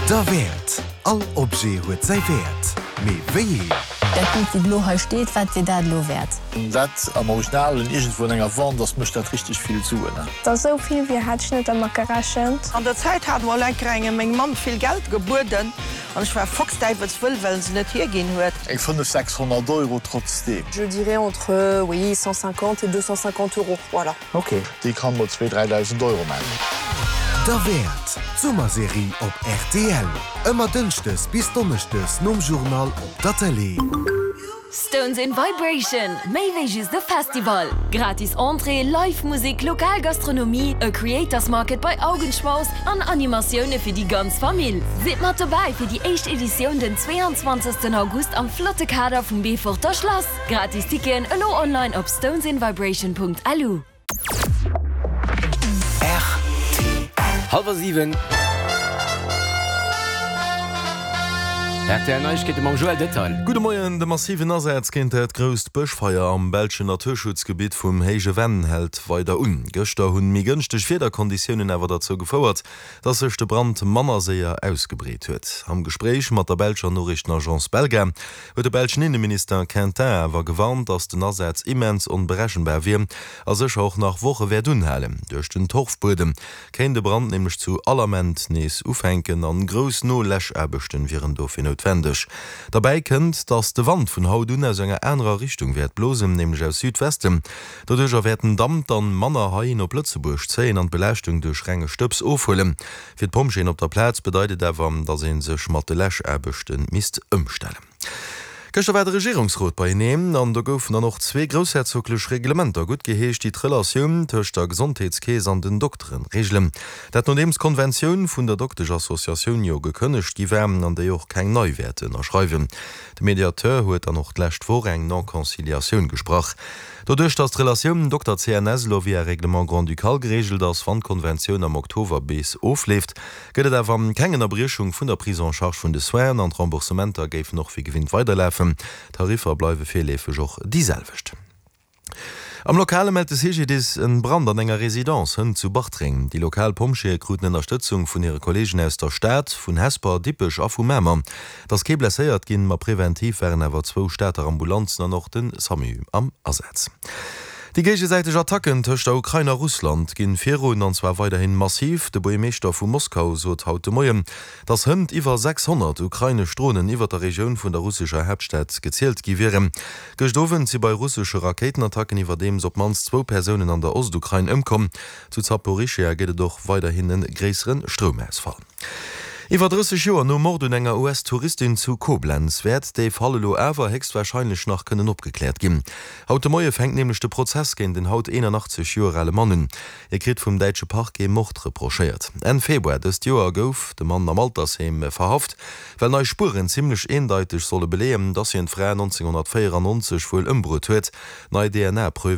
Derwäert! All Objet huet säi Wäert, mee wéi een? Dat Bild, wéi et elo hei steet, wat wier dat elo wäert? Wann dat am Originalen iergendwou an enger Wand ass, mécht dat richteg vill Suen. Der sou vill wier hat ech net dermat gerechent. An der Zäit hat mol enker engem meng Mamm vill Geld gebueden an ech war foxdäiwelswëll well en se net hierginn huet. Eng 5, 600 Euro trotzdeem. Je dirais entre, oui, 150 et 250 euros, voilà. Ok, déi kann mol zwee, 3.000 Euro man. Derwäert, d'Summerserie op rtl, ëmmer dënschdes bis donneschdes nom Journal op der Tëlee. Stones in Vibration, méi wéi just e Festival! Gratis Entrée, Live Musek, lokal Gastronomie, e Creators Market bei Augenschmaus an Animatioune fir déi ganz Famill. Sidd mat dobäi fir déi éischt Editioun den 22 August am flotte Kader vum Beeforter Schlass. Gratis Ticketen elo online op stonesinvibration.lu. Rtl. Hallwer 7. Rtl Neiegkeete mam Joël Detail. Gudde Moien, De massiven Asaz géint dat grousst Bëschfeier am belschen Naturschutzgebitt vum Héije Venn hält weider un. Gëschter hunn méi gënschteg Wiederkonditiounen awer derzou gefouert, dass sech de Brand manner séier ausgebreet huet. Am Gespréich mat der belscher Noriichtenagence Belga huet de belschen Inneminister Quintin awer gewarnt, dass den Asaz immens onberechenbar wier a sécher och nach Woche wäert unhalen. Duerch den Torfbuedem kéint de Brand nämlech zu all Ament nees ufänken an grouss No-Läschaarbechten wieren dofir noutwendeg. Derbäi kënnt, dass de Wand vun haut un aus enger anerer Richtung wäert blosen, nämlech aus Südwesten. Doduercher wäert den Damp dann manner heihin op Lëtzebuerg zéien an d'Belaaschtung duerch renge Stëbs ofhuelen. Fir d'Pompjeeën op der Plaz bedeit et awer, dass ee sech mat de Läschaarbechte misst ëmstellen. Gëschter war de Regierungsrot beieneen an do goufen dann och zwee groussherzoglech Reglementer guttgeheescht, déi d'Relatioun tëscht der Gesondheetskeess an den Doktere reegelen. Dat nodeems d'Konventioun vun der Dokteschassociatioun jo gekënnegt gi war an déi och keng nei wäert ënnerschreiwen. De Mediateur huet dann och d'lescht Woch eng Non-Conciliatioun gesprach. Doduerch, datt d'Relatioun Dokter-CNS elo via Règlement grand-ducal gereegelt ass, wann d'Konventioun am Oktober bis ofleeft, gëtt et awer keng Ënnerbriechung vun der Prise en charge vun de Soinen an d'Remboursementer géifen och wéi gewinnt weiderlafen. D'Tariffer bleiwe virleefeg och déi selwecht. Am Lokale mellt de CGDIS en Brand an enger Residence hënt zu Bartreng. Déi lokal Pompjeeë kruten Ënnerstëtzung vun hire Kolleegen aus der Stad, vun Hesper, Dippech a vu Mamer. Et ass kee blesséiert ginn, ma preventiv waren awer zwou Stater Ambulanzen an och de Samu am Asaz. Déi géigesäiteg Attacken tëscht der Ukrain a Russland ginn virun, an zwar weiderhin massiv. De Buergermeeschter vu Moskau sot haut de Moien, datt hënt iwwer 600 ukrainesch Dronen iwwer der Regioun vun der russescher Haaptstad gezielt gi wieren. Gëscht Owend si bei russesche Rakéitenattacken iwwerdeems op d'mannst zwou Persounen an der Ostukrain ëmkomm. Zu Zaporischschja gëtt et och weiderhin e gréissere Stroumausfall. Iwwer 30 Joer nom Mord un enger US-Touristin zu Koblenz wäert dee Fall elo awer héchstwarscheinlech nach kënnen opgekläert ginn. Haut de Moie fänkt nämlech de Prozess géint en haut 81 Joer ale Mann un. Hie kritt vum däitsche Parquet Mord reprochéiert. Enn Februar dëst Joer gouf de Mann am Altersheem verhaft, well nei Spueren zimmlech eendeiteg solle beleeën, dass hien d'Fra 1994 wuel ëmbruet huet. Nei DNA-Preuve.